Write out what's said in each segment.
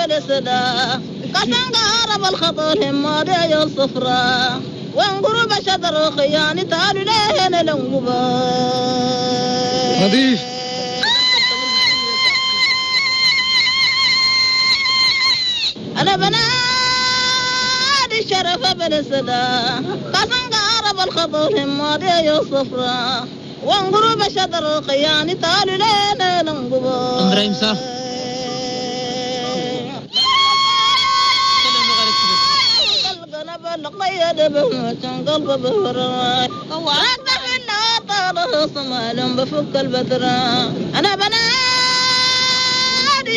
بالسدا قسم قارب الخطر همادي يا الصفراء وانقرب شدر خياني تعالوا لهنا لنقبا نظيف. أنا بنادي الشرف بالسدا قسم قارب الخطر همادي يا الصفراء وانقرب شدر خياني تعالوا لهنا لنقبا. إبراهيم صح. بفك البترة أنا بنادي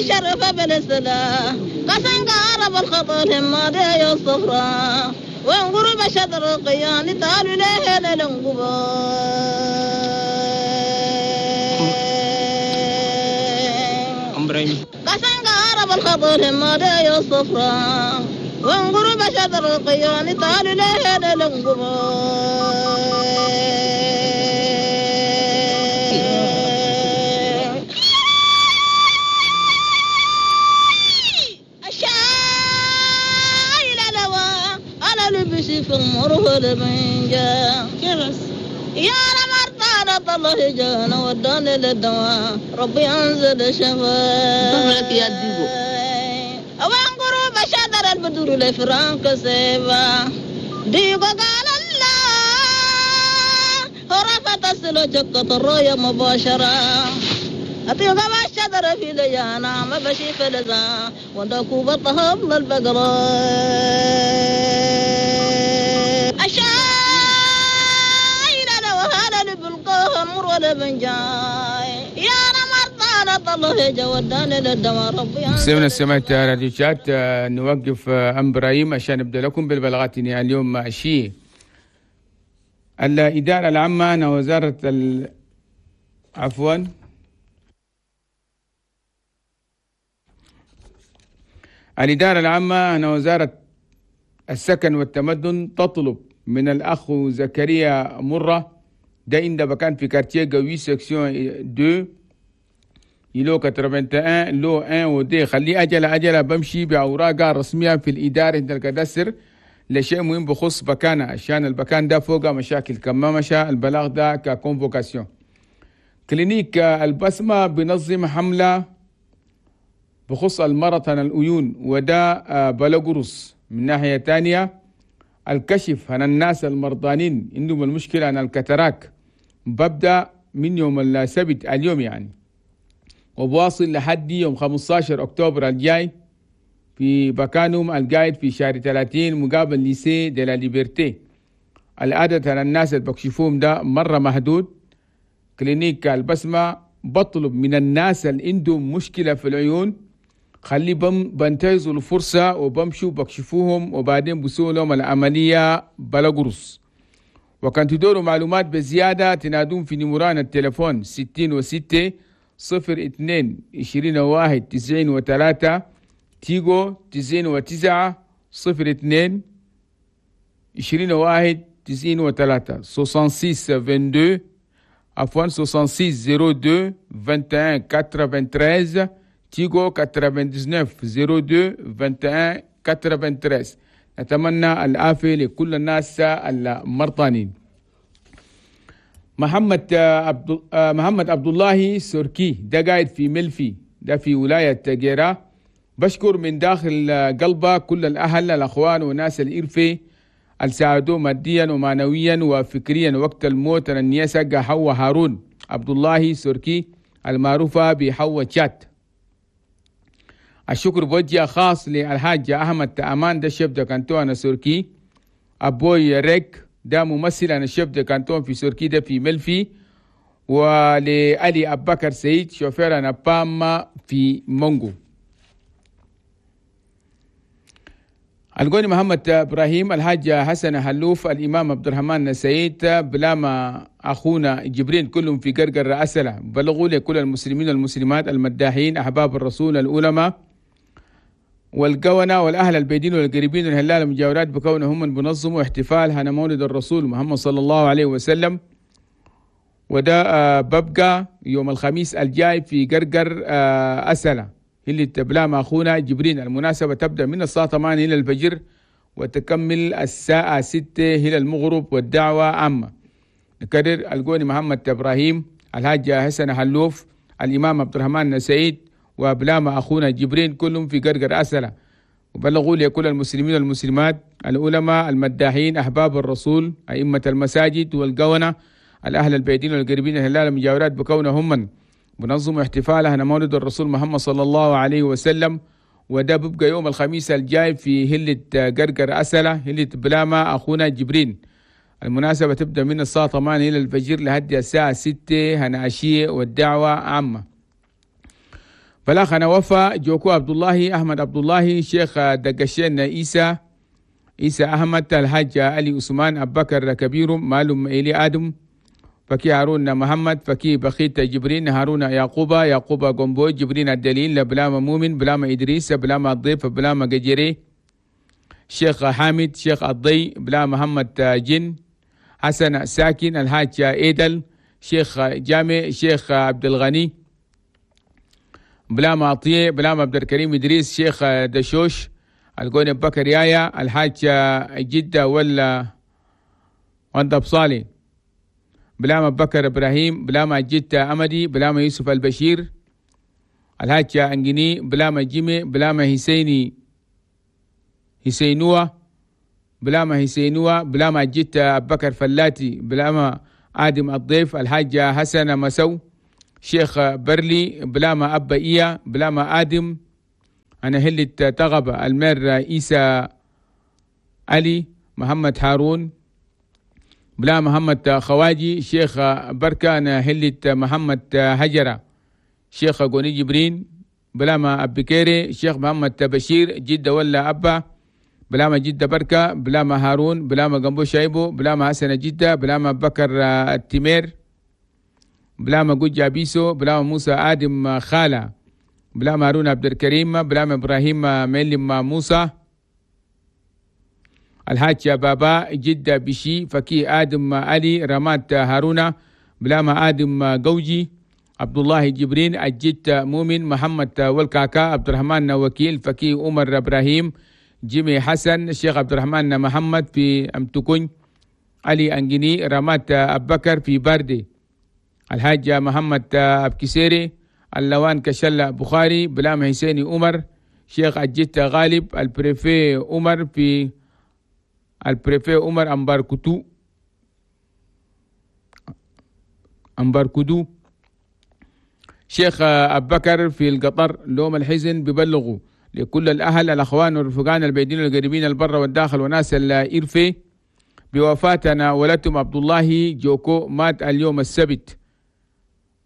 شرف بالسلا قسم قارب الخطر همادي يا الصفراء وانقرب شدر قياني تعالوا لهنا لنقبا. قسم قارب الخطر همادي يا الصفراء وانقرب شدر القياني تعالوا لهنا لنقبا. الشايل لوا أنا لبسي في المره لبنجا يا رمرتانا الله جانا وداني للدواء ربي أنزل الشفاء يا ديبو. وانقرب شدر البدور لفرانك سيبا ديقو قال الله رفت السلو جكة الرؤية مباشرة أطيق ما الشدر في ليانا ما بشي فلزا ودكو بطهب للبقرة أشايل لو هذا لبلقاها مر ولا بنجاي يا سمعنا سمعت راديو شات. نوقف أم إبراهيم عشان نبدأ لكم بالبلاغات اليوم شيء. الإدارة العامة أنا وزارة عفوا الإدارة العامة أنا وزارة السكن والتمدن تطلب من الأخ زكريا مرة ده عند بكان في quartier قوي section 2 îlot 81 lot 1 و 2. خليه أجل أجل بمشي بأوراق رسمية في الإدارة عند ال cadastre لشيء مهم بخص بكانة عشان البكان ده فوق مشاكل كما مشى البلاغ ده ك convocation. clinique البسمة بنظم حملة بخص المرض عن العيون وده بلغرس. من ناحية تانية الكشف عن الناس المرضانين عندهم المشكلة عن ال cataracte ببدأ من يوم السبت اليوم يعني وبواصل لحد يوم 15 أكتوبر الجاي في بكانهم القايد في شهر 30 مقابل lycée de la Liberté. العدد على الناس اللي بكشفوهم ده مرة محدود. clinique البسمة بطلب من الناس اللي عندهم مشكلة في العيون خلي بنتهزوا الفرصة وبمشوا بكشفوهم وبعدين بسوا لهم العملية بلا قرص. وكان تدوروا معلومات بزيادة تنادون في نمران التليفون 66 02 21 93 تيجو 99 02 21 93 66 22 عفوا 66 02 21 93 تيجو 99 02 21 93. نتمنى العافية لكل الناس المرضانين. محمد عبد الله سوركي ده قاعد في ملفي ده في ولاية جيرا. بشكر من داخل قلبه كل الأهل الأخوان وناس الإرفي اللي ساعدوه ماديا ومعنويا وفكريا وقت الموت. النياسة حوا هارون عبد الله سوركي المعروفة بحوا تشات. الشكر بوجه خاص للحاج أحمد تأمان ده chef de canton أنا سوركي. أبوي ريك ده ممثل أنا chef de canton في سوركي ده في ملفي. ولألي أبكر سيد شوفير أنا باما في مونغو. القوني محمد إبراهيم الحاج حسن حلوف الإمام عبد الرحمن سعيد بلاما أخونا جبرين كلهم في قرقر أسلة. بلغوا لكل المسلمين والمسلمات المداحين أحباب الرسول العلماء والقونة والأهل البيدين والقريبين والهلال المجاورات بكونهم من بنظموا احتفال هنا مولد الرسول محمد صلى الله عليه وسلم. وده ببقى يوم الخميس الجاي في قرقر أسلة. اللي تبلا مع أخونا جبرين. المناسبة تبدأ من الساعة 8 إلى الفجر وتكمل الساعة 6 إلى المغرب، والدعوة عامة. نكرر القوني محمد إبراهيم، الحاج حسن حلوف، الإمام عبد الرحمن سعيد، وبلاما أخونا جبرين، كلهم في قرقر أسلة. وبلغوا لكل المسلمين والمسلمات، العلماء، المداحين، أحباب الرسول، أئمة المساجد والقونة، الأهل البيتين والقريبين، الهلال المجاورات، بكونهم من بنظم احتفالها مولد الرسول محمد صلى الله عليه وسلم. وده بيبقى يوم الخميس الجاي في هلة قرقر أسلة، هلة بلاما أخونا جبرين. المناسبة تبدأ من الساعة 8 إلى الفجر لحد الساعة 6 هنعشية، والدعوة عامة. بلاغنا وفا جوكو عبد الله، أحمد عبد الله، شيخ دقشين عيسى، عيسى أحمد، الحاج علي عثمان، أبو بكر كبير، معلم إلي آدم، فكي هارون محمد، فكي بخيت جبرين، هارون يعقوبة، يعقوبة قنبو، جبرين الدليل، بلاما مؤمن، بلاما إدريس، بلاما الضيف، بلاما قجري، شيخ حامد، شيخ الضي، بلا محمد جن، حسن ساكن، الحاج إيدل، شيخ جامع، شيخ عبد الغني، بلاما عطية، بلاما عبد الكريم إدريس، شيخ دشوش، القوني بكر يايا، الحاج جدة ولا وندب صالي، بلاما بكر إبراهيم، بلاما جدة أمدي، بلاما يوسف البشير، الحاج أنجني، بلاما جيمي، بلاما حسيني حسينوة، بلاما حسينوة، بلاما جدة بكر فلاتي، بلاما آدم الضيف، الحاج حسن مسو، شيخ برلي، بلاما أبا إيا، بلاما آدم، أنا هلة تغبة، المير عيسى علي، محمد هارون، بلا محمد خواجي، شيخ بركة، أنا هلة محمد هجرة، شيخ قوني جبرين، بلاما أبكيري، شيخ محمد بشير، جدة ولا أبا، بلاما جدة بركة، بلاما هارون، بلاما قنبو شايبو، بلاما حسن جدة، بلاما بكر التمير، بلاما جوجا بيسو، بلاما موسى آدم خالة، بلاما هارون عبد الكريم، بلاما إبراهيم ميلم موسى، الحاج بابا جدة بشي، فكي آدم علي، رمات هارونا، بلاما آدم قوجي، عبد الله جبرين، الجد مؤمن، محمد والكاكا، عبد الرحمن وكيل، فكي عمر إبراهيم، جيمي حسن، الشيخ عبد الرحمن محمد في أمتكون، علي أنجني، رمات أبكر في باردي، الحاج محمد أبكسيري، اللوان كشلة بخاري، بلام حسيني عمر، شيخ الجد غالب، البريفي عمر في البريفي عمر أمباركتو أمباركدو، شيخ أبكر في القطر. لوم الحزن ببلغوا لكل الأهل، الأخوان والرفقان، البعيدين والقريبين، البر والداخل، وناس الإرفي بوفاتنا ولدتم عبد الله جوكو، مات اليوم السبت،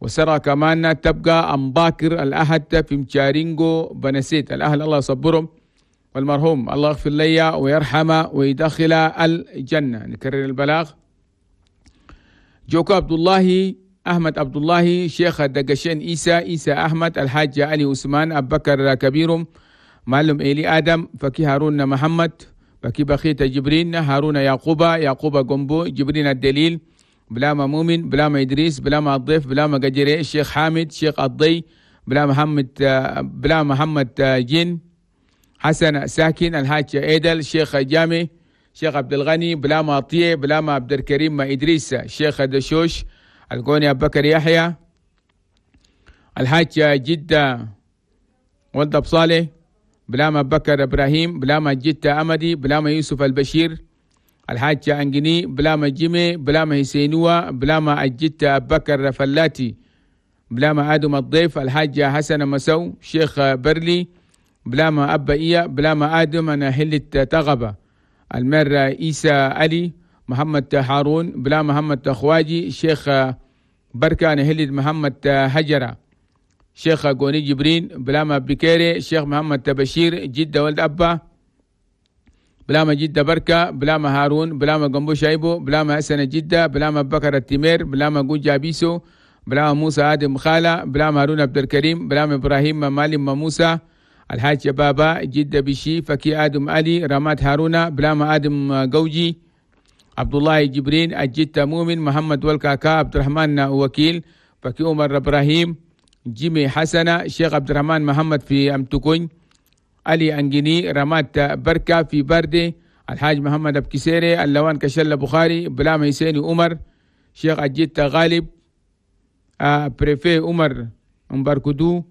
وسرى كمان تبقى أمباكر الأحد في مشارينجو بنسيت. الأهل الله يصبرهم، والمرحوم الله يغفر لي ويرحمه ويدخل الجنة. نكرر البلاغ: جوكو عبد الله، أحمد عبد الله، شيخ الدقشين عيسى، عيسى أحمد، الحاج علي عثمان، أبو بكر كبيرهم، معلم إيلي آدم، فكي هارون محمد، فكي بخيت جبرين، هارون يعقوبة، يعقوبة قنبو، جبرين الدليل، بلاما مؤمن، بلاما إدريس، بلاما الضيف، بلاما قجري، الشيخ حامد، شيخ الضي، بلا محمد، بلا محمد جن، حسن ساكن، الحاج إيدل، شيخ جامي، شيخ عبد الغني، بلاما عطية، بلاما عبد الكريم إدريس، شيخ دشوش، القوني أبو بكر يحيى، الحاج جدة ولد صالح، بلاما بكر إبراهيم، بلاما جدة أمدي، بلاما يوسف البشير، الحاج أنجني، بلاما جيمي، بلاما حسينوة، بلاما الجدة أبو بكر فلاتي، بلاما آدم الضيف، الحاج حسن مسو، شيخ برلي، بلاما أبا إيا، بلاما آدم، أنا هلة تغبة، المير عيسى علي، محمد هارون، بلا محمد خواجي، شيخ بركة، أنا هلة محمد هجرة، شيخ قوني جبرين، بلاما بكيري، شيخ محمد بشير، جدة ولد أبا، بلاما جدة بركة، بلاما هارون، بلاما قنبو شايبو، بلاما حسن جدة، بلاما بكر التمير، بلاما جوجا بيسو، بلاما موسى آدم خالة، بلاما هارون عبد الكريم، بلاما إبراهيم مالم موسى، الحاج بابا، جدة بشي، فكي آدم علي، رمات هارونا، بلاما آدم قوجي، عبد الله جبرين، الجدة مؤمن، محمد والكاكا، عبد الرحمن وكيل، فكي عمر إبراهيم، جيمي حسنة، شيخ عبد الرحمن محمد في أمتكون، علي أنجيني رمات بركة في باردي، الحاج محمد أبكسيري، اللوان كشلة بخاري، بلام حسيني عمر، شيخ أجيت غالب، préfet عمر مباركدو،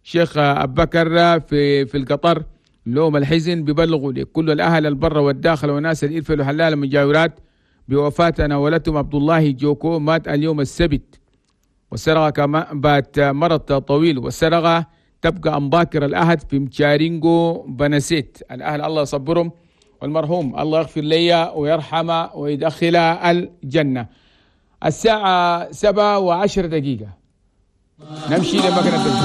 شيخ أبو بكر في القطر. لوم الحزن ببلغوا لكل الأهل البر والداخل وناس الإلفة والحلال المجاورات بوفاة ولدهم عبد الله جوكو، مات اليوم السبت والسرقة كما بات مرض طويل، والسرقة تبقى أمباكر الأحد في مشارينجو بنسيت. الأهل الله يصبرهم، والمرحوم الله يغفر لي ويرحمه ويدخله الجنة. الساعة 7:10 نمشي لمكنة.